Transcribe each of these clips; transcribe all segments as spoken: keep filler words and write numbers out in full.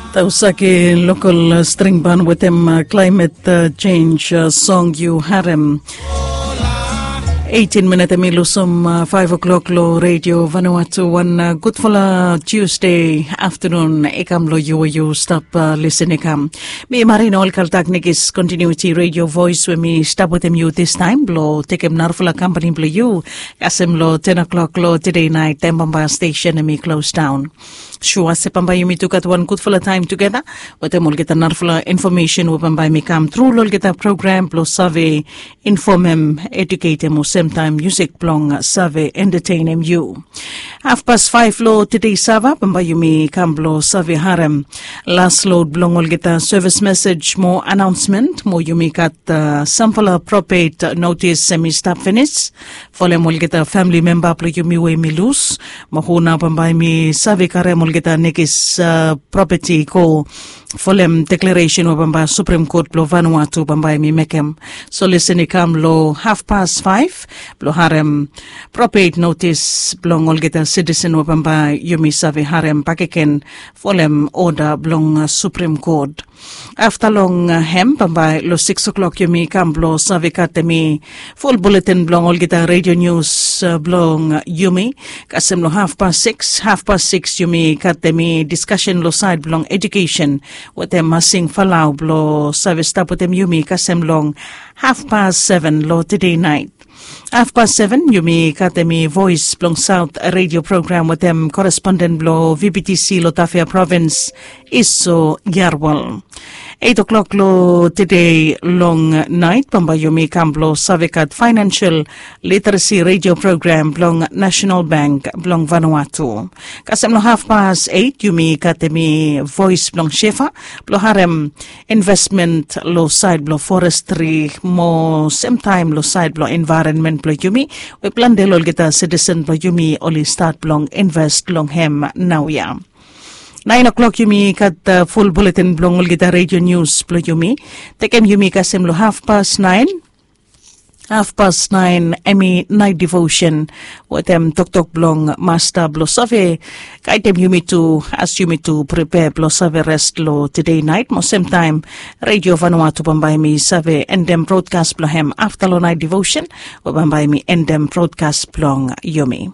Tausake lokol string ban wetem klaimet chenj song yu harem. Eitin minit em i lusim faiv o'klok long redio Vanuatu. Wan gudfala Tuesday aftanun i kam long yu we yu stap lisin i kam. Mi marina ol kaltak nikis kontinuiti redio vois we mi stap wetem yu distaim blong tekem narafala kampani blong yu kasem long ten o'klok long tede nait taim bamba stesen em i klos daun. Sua se bambae yumi tu gat wan gudfala taim tugeta wetem olgeta narafala infomesen we bambae mi kam tru long olgeta program blong save infomem, eduketem o semtaim musik blong save entetenem yu. Hafpas faiv long tede sava bambae yumi kam blong save harem las lod blong olgeta sevis mesej mo anaonsmen mo yumi gat samfala propet notis em i stap finis folem olgeta famili memba blong yumi we mi lus mo hu nao bambae mi save karem olgeta nekis propeti go folem deklaresen we bambae Suprem Kot blong Vanuatu bambae mi mekem. So lesen i kam long hafpas faiv blong harem propet notis blong olgeta sitisen we bambae yumi save harem bakegen folem oda blong Suprem Kot. Afta long hem bambae long siks o'klok yumi kam blong save gat em i ful buletin blong olgeta redio nius blong yumi. Kasem long hafpas siks, hafpas siks yumi gat em i diskasen long sait blong edukesen wetem masing falau blong save stap wetem yumi kasem long hafpas seven long tede nait. Hafpas seven yumi gat em i vois blong saut redio program wetem koresponden blong vptc long tafea provins, Iso Yarwal. Eit o'klok long tede long nait bambae yumi kam blong save gat fainansel literesi redio program blong Nasenal Bank blong Vanuatu. Kasem long hafpas eit yumi gat em i vois blong sefa blong harem investment long sait blong forestri mo semtaim long sait blong envaeronmen blong yumi we plante long olgeta sitisen blong yumi oli stat blong invest long hem naoia. Nain o'klok yumi gat ful buletin blong olgeta redio nius blong yumi. Tekem yumi kasem long hafpas nain. Hafpas nain em i nait devosen wetem toktok blong masta blong save gaidem yumi tu as yumi tu pripea blong save res long tede nait mo semtaim redio Vanuatu bambae mi save endem brodkas blong hem afta long nait devosen we bambae mi endem brodkas blong yumi.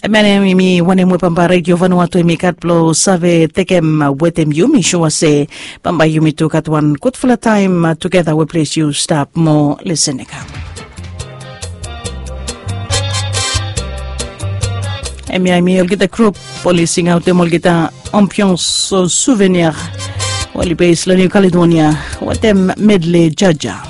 Em ya em i wanem we bambae redio Vanuatu em i gat blong save tekem wetem yumi sua se bambae yumi tu gat wan gudfala taim tugeta we ples yu stap mo lesen i kam. Em ya em i olgeta grup oli singaotem olgeta ambians suvenir oli bes long Niu Kaledonia wetem medle jaja.